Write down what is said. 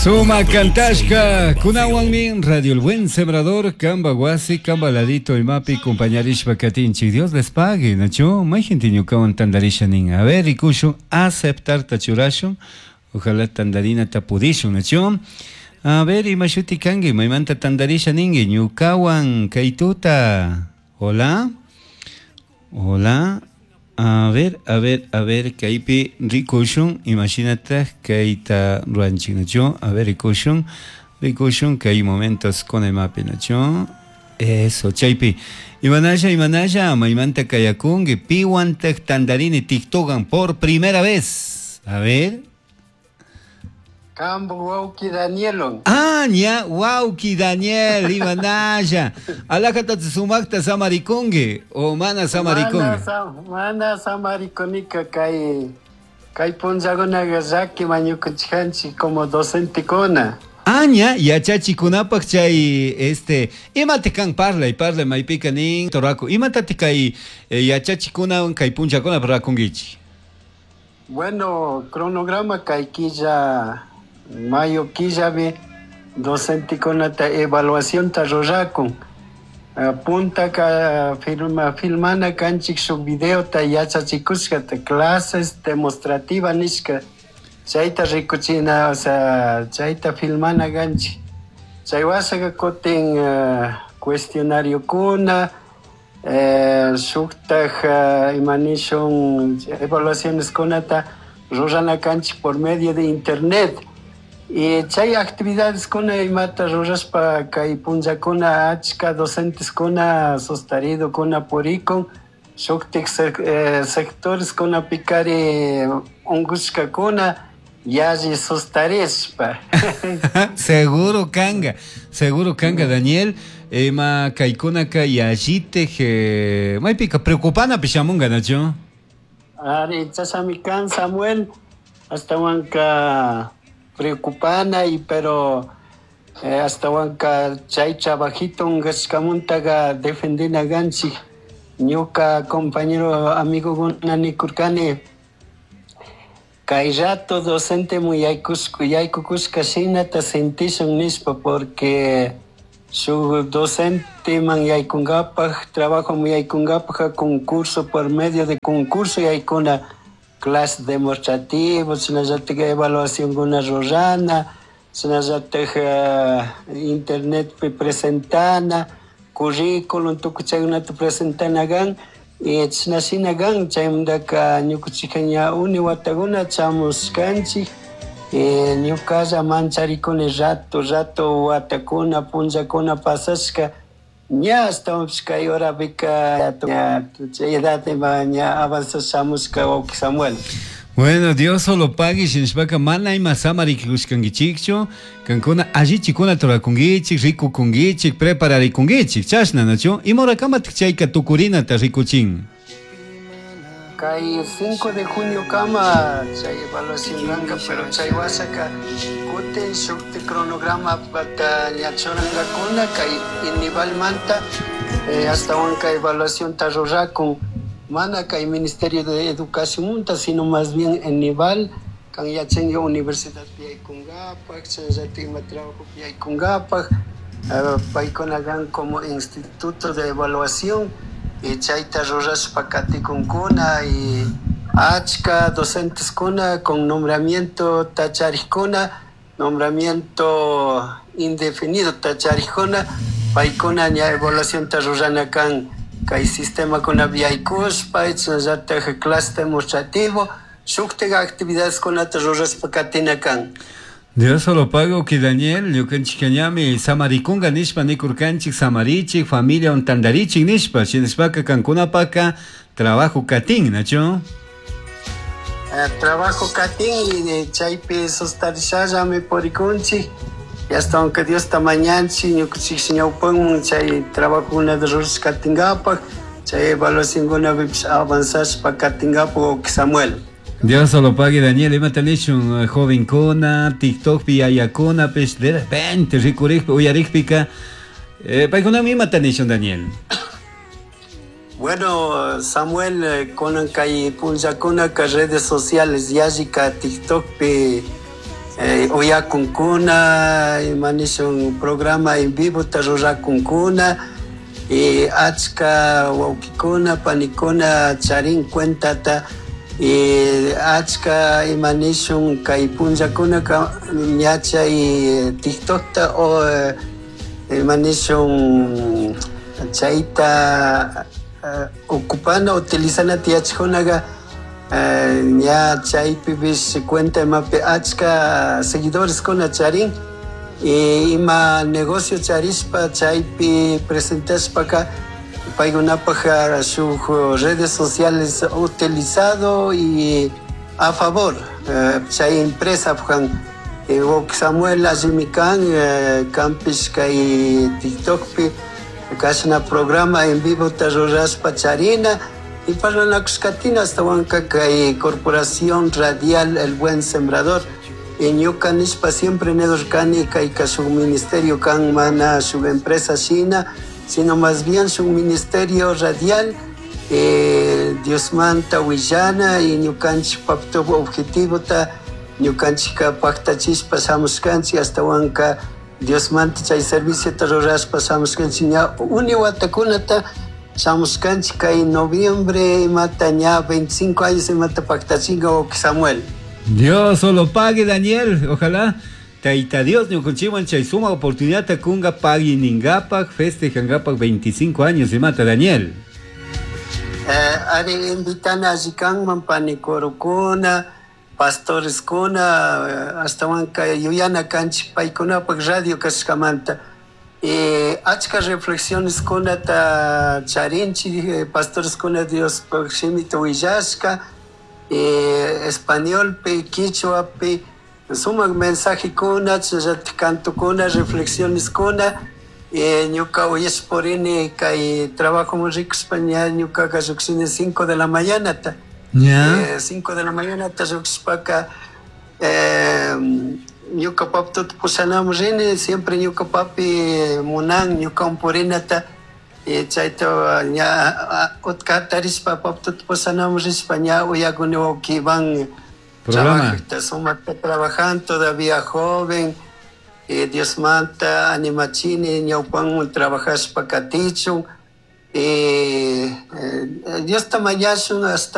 Suma kantashka kunawanmi Radio El Buen Sembrador kamba wasi kamba ladito imapi compañarishpa katinchik. Dios les pague, nachu? Mayjinti ñukawan tandarisha nin. A ver, rikushun aceptarta churashun. Ojalá tandarinata pudishun, nachu? A ver, ima shuti kanki? Maymanta tandarisha ninki? Ñukawan kay tuta. Hola. Hola. A ver, a ver, a ver, kaypi rikushun, imashinataj kayta ruranchik, nachu? A ver, rikushun, rikushun kay momentos kuna imapi, nachu? Eso, chaypi. Imanasha, imanasha, maymanta kayakunki, piwantaj tandarini TikTokan por primera vez. A ver. Kambu wawki Danielon. Ah, ña, wawki Daniel, imanasha. Alajata sumakta samarikunki, o mana samarikunki. Mana samarikunika kay kay punllakunaqa llaki mañukuchikanchik como docentekuna. Aña yachachikunapaq chay este imata kan parlay parlay maypika nin toraku imatataq kay yachachikunawan kay punllakunapaq rakunkichik. Bueno, cronograma kay killa mayo killapi docentekunata evaluacionta rurakun. Puntaka firma filmana kanchik shuk videota yachachikushkata clases demostrativa nishka chayta rikuchina, o sea, chayta filmana kanchik. Chay wasaka kutin cuestionariokuna, shuktaj ima nishun evaluaciones kunata rurana kanchik por medio de internet. Y chay actividades kuna imata rurashpa kay punllakuna achka docentes kuna sostarido kuna purikun shuktik sectores kuna pikari unkushkakuna yalli sustarishpa. Seguro kanga Daniel, ima kaykunaka yallitik maypika preocupanapi shamunga, nachu? Ari, chashami kan Samuel, ashtawanka preocupana y pero ashtawanka chay trabajito unqashkamuntaqa defendina kanchik. Ñuka compañero amigokuna nikurkani kay rato docente muy yaykukushka shinata sentishun nishpa porque shuk docente man yaykunkapaj trabajo man yaykunkapaj concurso por medio de concurso yaykuna clase demostrativo, shinallatik evaluación kuna rurana, shinallatik internetpi presentana, currículum tukuy chaykunata presentana kan, y chashna shina kan, chaymantaka ñukanchikka ña uni watakuna chamushkanchik, ñukalla mancharikuni rato rato watakuna punllakuna pasashka ña ashtawanpish kay horapika ña chay edad ima ña avanzashka shamushka wawki Samuel. Bueno, Dios solo pague, shinashpaka mana ima samarikushkankichikchu, kankuna allichikuna turakunkichik, rikukunkichik, prepararikunkichik, chashna, nachu? Ima horakamatik chayka tukurinata rikuchin? Kay 5 de junio kama chay evaluación kanka, pero chay wasaka kutin shukti cronograma pata ña churankakuna kay Inivalmanta, ashtawanka evaluación ta rurakun mana kay Ministerio de Educación munta, sino más bien Inival kan yachanki universidad yaykunkapak, chayllatik ima trabajo yaykunkapak, paykuna kan como instituto de evaluación y chayta rurashpa katikunkuna y achka docentes kuna con nombramiento tacharikuna, nombramiento indefinido tacharikuna, paykuna ña evaluación ta rurana kan kay sistema kuna yaykushpa, chayllatak clase demostrativo, shuktik actividades kunata rurashpa katina kan. Dios solo pago que Daniel, ñukanchik ñami samarikunga nishpa nikurkanchik samarichik, familia tandarichik nishpa, shinashpaka kankunapaka trabajo katin, nachu? Trabajo katin y chaypi sustarishallami purikunchik, y hasta aunque Dios ta mañanchik, ñukanchik ñawpanman chay trabajokunata rurashpa katinkapak, chay evaluacionkunapipish avanzashpa katinkapak wawki Samuel. Dios solo pague, Daniel, imata nishun jovenkuna, TikTokpi yayakunapish, de repente rikurikpi, uyarikpika, paykunami imata nishun, Daniel. Bueno, Samuel, kunan kay punllakunaka redes sociales yallika TikTokpi Uyakunkuna, ima nishun programa en vivo ta rurakunkuna, y achka wawkikuna panikuna charin cuentata, y achka ima nishun kay punllakunaka ña chay TikTokta o ima nishun chayta ocupana utilizanata yachajkunaga ña chaypipish cuenta imapi achka seguidoreskuna charin, y ima negocio charishpa chaypi presentashpaka paykunapaj shuk redes sociales utilizado y a favor chay empresa pujan. Wawki Samuel allimi kan, kanpish kay TikTokpi kashna programa en vivo ta rurashpa charina y parlanakushkatina astawanka kay Corporación Radial El Buen Sembrador. Y ñuka nishpa siempre nidurkani kayka shuk ministerio kan, mana shuk empresa shina, sino más bien shuk ministerio radial, Diosmanta willana y ñukanchik objetivota ñukanchikka paktachishpa shamushkanchik, astawanka Diosmanta chay serviciota rurashpa shamushkanchik ña uni watakunata shamushkanchik kay noviembre imata ña 25 años imata paktachinka wawki Samuel. Dios solo pague, Daniel, ojalá Taita Dios ñukanchikwan chay suma oportunidad kunga pagui ningapak festejangapak 25 años imata, Daniel. Ari invitana alli kanman panikurukuna, pastoreskuna, astawanka yuyana kanchik paykunapak radio kashkamanta. Achka reflexioneskunata charinchik, pastoreskuna Diospaj shimita willashka, españolpi, quichuapi, sumak mensajekuna, chayllatik cantokuna, reflexioneskuna. Ñuka uyashpurini kay trabajoman rikushpa ña ñukaka lluqshini 5 de la mañanata. 5 de la mañanata lluqshishpaka, ñuka papituta pushanaman rini, siempre ñuka papi munan ñukawan purinata, chayta ña utka hatarishpa papituta pushanaman rishpa ña uyakuni wawki Iván Programa. Trabajta, sumakta trabajan todavía joven, Diosmanta animachini ñawpanman trabajashpa katichun, Diosta mañashun hasta.